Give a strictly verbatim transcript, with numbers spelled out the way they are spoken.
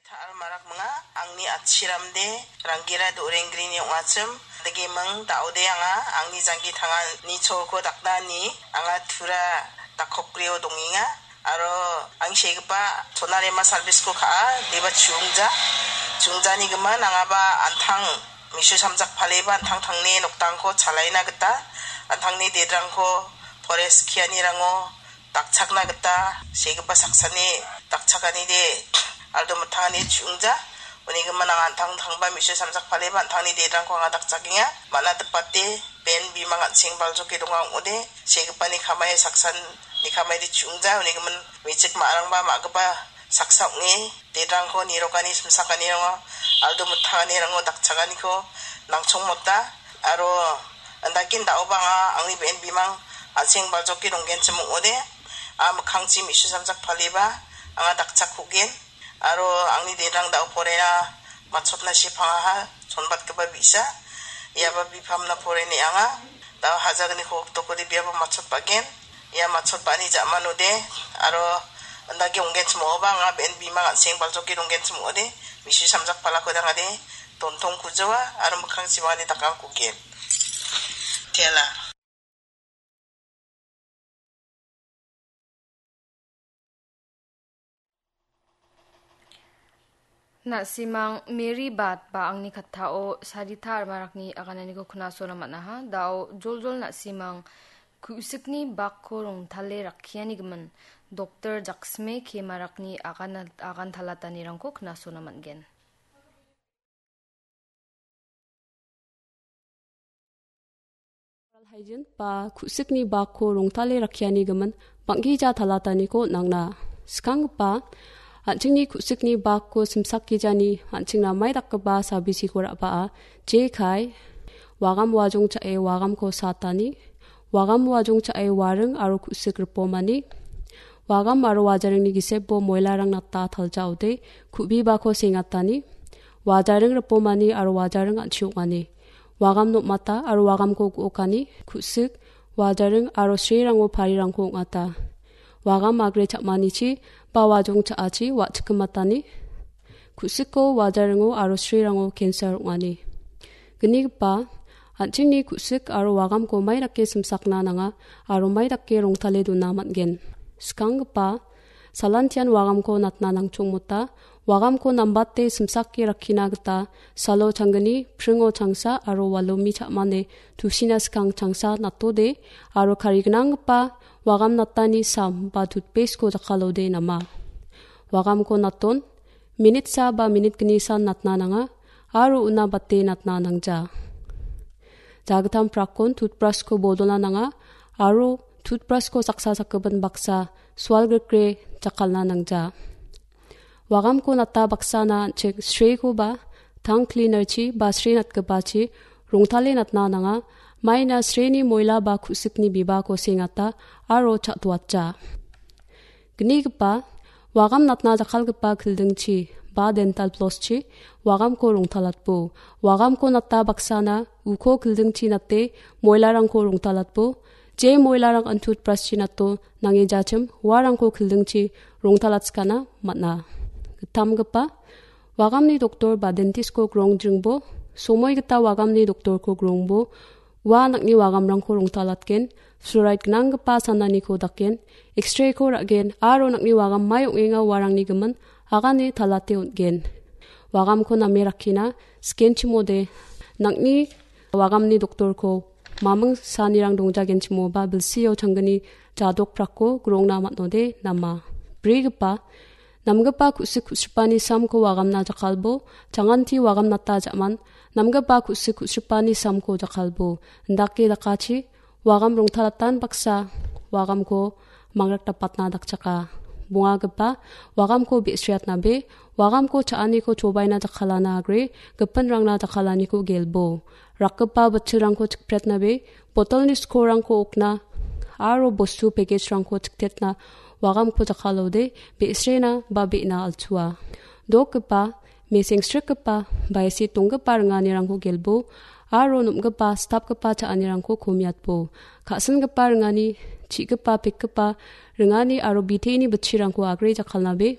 Ta·al marak ming·a, angni atchiramde Ranggera Dorenggrini ong·achim, degiming da·ode anga, angni janggi tangani cholko daknani anga tura dakokgrio dongenga. Aro ang segipa Sonarema service-ko ka·a, deba chiungja. Chiungjani gimin angaba an·tang misu samjak paleba an·tangtangni noktangko chalaina gita, an·tangni dedrangko forest kianirango dakchakna gita segipa saksani dakchakanide aldo mittangani chiungja. Uni gimin anga an·tangtangba misu samjak paleba an·tangni dedrangko anga dakchakenga. Mana dipate ben bimang an·seng baljoke donga ong·ode, segipani kamai saksan ni kamaide chiungja, uni gimin mechik ma·arangba ma·gipa saksa ong·e, dedrangko nirokani simsakanirango aldo mittanganirango dakchakaniko nangchongmota, aro andakin da·oba anga angni be·en bimang an·seng baljoke donggenchim ong·ode, a mikkangchi misu samjak paleba anga dakchakkugen. Aro angni dedrang da·o porena matchotna sepangaha, sonbatgipa bi·sa. Iaba bipamna poreni anga. Da·o hajagniko oktokode biaba matchotbagen. Ia matchotbani ja·manode. Aro andake onggenchim ong·oba anga be·en bimang an·seng baljoke donggenchim ong·ode. Misu samjak palako dangade. Dontong kujoa. Aro mikkang chimani dakang kugen. Tiala. Na·simang Mary Bat ba angni kattao Sarita Armarakni agananiko knasona man·aha. Da·o joljol na·simang ku·sikni bakko rongtale rakkiani gimin Doktor Jaksme K Marakni agan, agan talatanirangko knasona man·gen. Oral hygiene ba ku·sikni bakko rongtale rakkiani gimin bang·gija talataniko nangna. Skanggipa, an·chingni ku·sikni bakko simsakgijani an·chingna mai dakgipa sabisiko ra·baa, jekai, wagam wajong cha·e wagamko satani, wagam wajong cha·e waring aro ku·sik ripomani, wagam aro wajaringni gisebo moilarang nata taljaode ku·bibako sengatani, wajaring ripomani aro wajaring an·chi ong·ani. Wagam nokmata aro wagamko gu·okani, ku·sik, wajaring aro srerango parirangko ong·ata. Wagam agre cha·manichi ba wajong cha·achi wa·chikgimatani, ku·siko, wajaringo aro srerango cancer ong·ani. Gnigipa, an·chingni ku·sik aro wagamko mai dake simsakna nanga aro mai dake rongtale dona man·gen. Skanggipa, salantian wagamko natna nangchongmota, wagamko nambate simsake rakkina gita salo changgni, pringo changsa aro walomi cha·mane tusina skang changsa natode aro karignanggipa wagam natani sam ba tutpesiko jakkalode nama. Wagamko naton, minitsa ba minit gnisan natna nanga aro una bate natna nangja. Jagittam prakon tutbrasko bodolna nanga aro tutbrasko saksa sakgipin baksa sualgrikre jakkalna nangja. Wagamko nata baksana an·ching srekoba tang cleanerchi ba sre natgipachi rongtale natna nanga, maina sreni moila ba ku·sikni bibako sengata aro cha·toatja. Gnigipa, wagam natna jakkalgipa kildingchi ba dental flosschi wagamko rongtalatbo. Wagamko nata baksana uko kildingchi nate moilarangko rongtalatbo. Je moilarang an tutbraschi nato nange jachim uarangko kildingchi rongtalatskana man·a. Gittamgipa, wagamni doktor ba dentistko grongjringbo, somoi gita wagamni doktorko grongbo, ua nang·ni wagamrangko rongtalatgen, fluoride gnanggipa sananiko daken, X-rayko ra·gen, aro nang·ni wagam mai ong·enga uarangni gimin agane talate on·gen. Wagamko name rakkina, skenchimode, nang·ni wagamni doktorko maming sanirang dongjagenchimoba bilsio changgni jadok prakko grongna man·ode nama. Brigipa, namgipa ku·sik ku·sripani samko wagamna jakkalbo, changanti wagamnata ja·man, namgipa ku·sik ku·sripani samko jakkalbo. Indake dakachi, wagam rongtalatan baksa, wagamko mangrakdapatna dakchaka. Bongagipa, wagamko be·sriatnabe, wagamko cha·aniko chobaina jakkalana agre, gipinrangna jakkalaniko gelbo. Rakgipa bitchilrangko chikpretnabe, botolni skorrangko okna, aro bostu package-rangko chiktetna, wagamko jakkalode, be·srena ba be·na alchua. Dokgipa, mesengsrikgipa, baisi tonggipa ringanirangko gelbo, aro nom·gipa, stapgipa cha·anirangko komiatbo. Ka·singipa ringani, chi·gipa, pekgipa ringani aro biteeni bitchirangko agre jakkalnabe,